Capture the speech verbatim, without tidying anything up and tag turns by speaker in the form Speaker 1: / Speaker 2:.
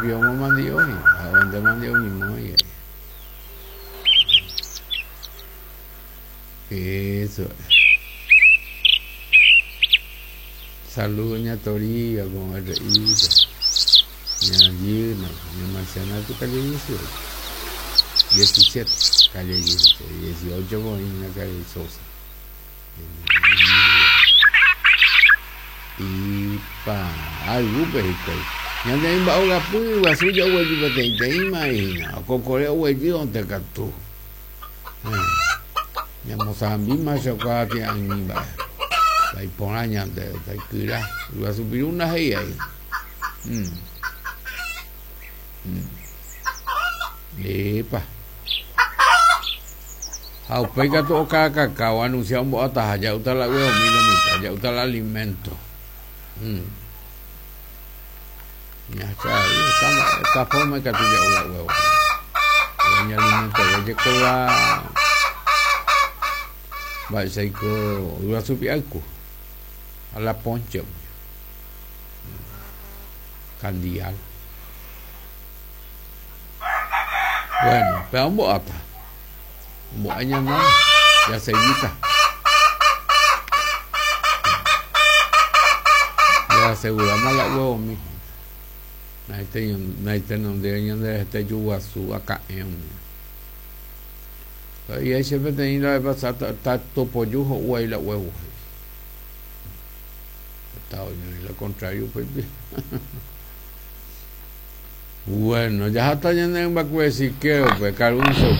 Speaker 1: Mandi'o ha mandi'o mimói. Eso. Saludos, ña Toribia, con R I, ña Gina, ña Marciana, tu calle dieciocho. diecisiete, calle dieciocho, con la calle Sosa. Y pa, algo pejico. Ñande imba ogapy guasu jagueju peteĩteĩma hína okokore oguejy ontekatu. Ñamosambíma chokua ti'ãmi mba'e. Taiporã ñande taikyra guasu piruna he'i ahí. Mm. Mm. Epa. Ha upéi katu okakaka oanuncia ombo'ataha ja'úta la huevomi lo mitã ja'úta la alimento. Mm. Ya está, esta, esta forma que tú ya la huevo. El alimento de la mba'éichaiko yguasupi'áyku a la ponche candial. Bueno, pero ombo'áta ombo'a ñana jaseguíta ya aseguramos la huevomi naitenonde ñande hete juguasu aka'ẽ umi. Y ahí siempre tenía la vez pasada topoyu ho'u ahí la huevo. Está oyendo lo contrario pues. Bueno, ya está ñande mbakuesiqueo pues carunzo.